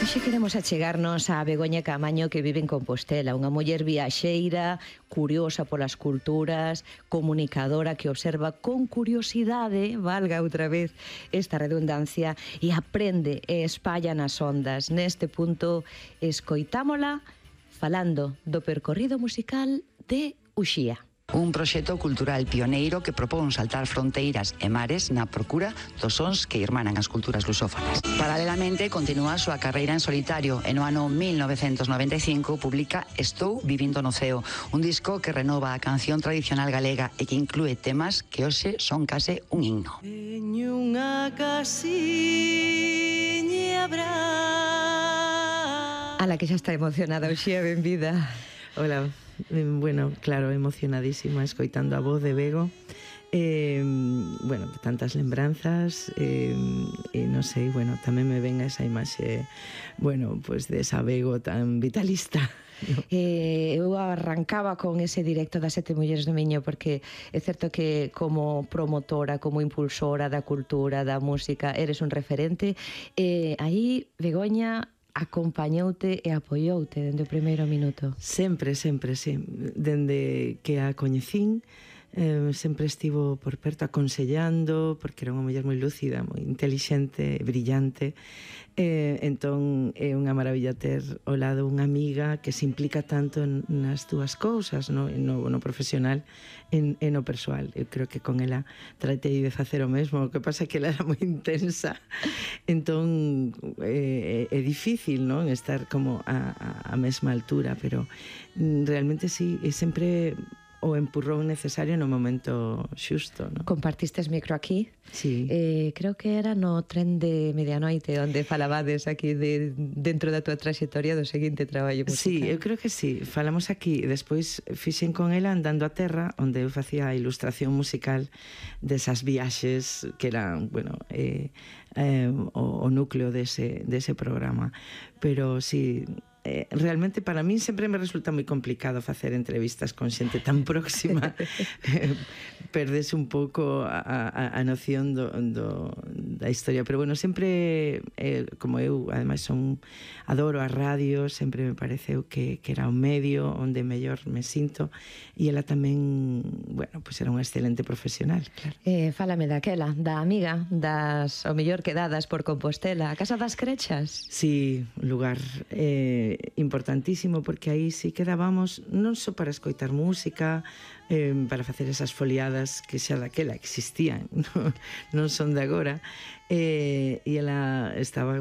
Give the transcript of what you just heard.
Hoxe queremos achegarnos a Begoña Caamaño, que vive en Compostela, unha muller viaxeira, curiosa polas culturas, comunicadora que observa con curiosidade, valga outra vez esta redundancia, e aprende e espalla nas ondas. Neste punto, escoitámola falando do percorrido musical de Uxía. Un proxecto cultural pioneiro que propón saltar fronteiras e mares na procura dos sons que irmanan as culturas lusófonas. Paralelamente, continúa a súa carreira en solitario e no ano 1995 publica Estou vivindo no ceo, un disco que renova a canción tradicional galega e que inclúe temas que hoxe son case un himno. Teño unha casiña brava. A la que xa está emocionada, Uxía, benvida. Hola, bueno, claro, emocionadísima escoitando a voz de Bego. Bueno, tantas lembranzas non sei, bueno, tamén me ven esa imaxe, bueno, pues de esa Bego tan vitalista. Eu arrancaba con ese directo das Sete Mulleres do Miño, porque é certo que como promotora, como impulsora da cultura, da música, eres un referente. Aí, Begoña, acompañoute e apoioute dende o primeiro minuto. Sempre, sempre, sí. Dende que a coñecín, sempre estivo por perto aconsellando, porque era unha muller moi lúcida, moi intelixente, brillante. Entón é unha maravilla ter ao lado unha amiga que se implica tanto nas túas cousas, no profesional e no persoal. Eu creo que con ela tratei de facer o mesmo, o que pasa é que ela era moi intensa, entón é difícil, non, estar como a mesma altura, pero realmente sí, é sempre o empurrón necesario no momento xusto, non? Compartistes micro aquí? Sí. Creo que era no tren de medianoite onde falabades aquí dentro da túa traxectoria do seguinte traballo musical. Sí, eu creo que sí. Falamos aquí, despois fixen con ela Andando a Terra, onde eu facía a ilustración musical desas viaxes que eran, bueno, o núcleo dese programa. Pero sí, realmente para min sempre me resulta moi complicado facer entrevistas con xente tan próxima. Perdese un pouco a noción da historia, pero bueno, sempre como eu ademais adoro a radio, sempre me pareceu que era un medio onde mellor me sinto, e ela tamén, bueno, pues era unha excelente profesional, claro. Fálame daquela, da amiga das o mellor quedadas por Compostela, a Casa das Crechas. Sí, un lugar importantísimo, porque aí sí quedábamos non só para escoitar música, para facer esas foliadas que xa daquela existían, non son de agora, e ela estaba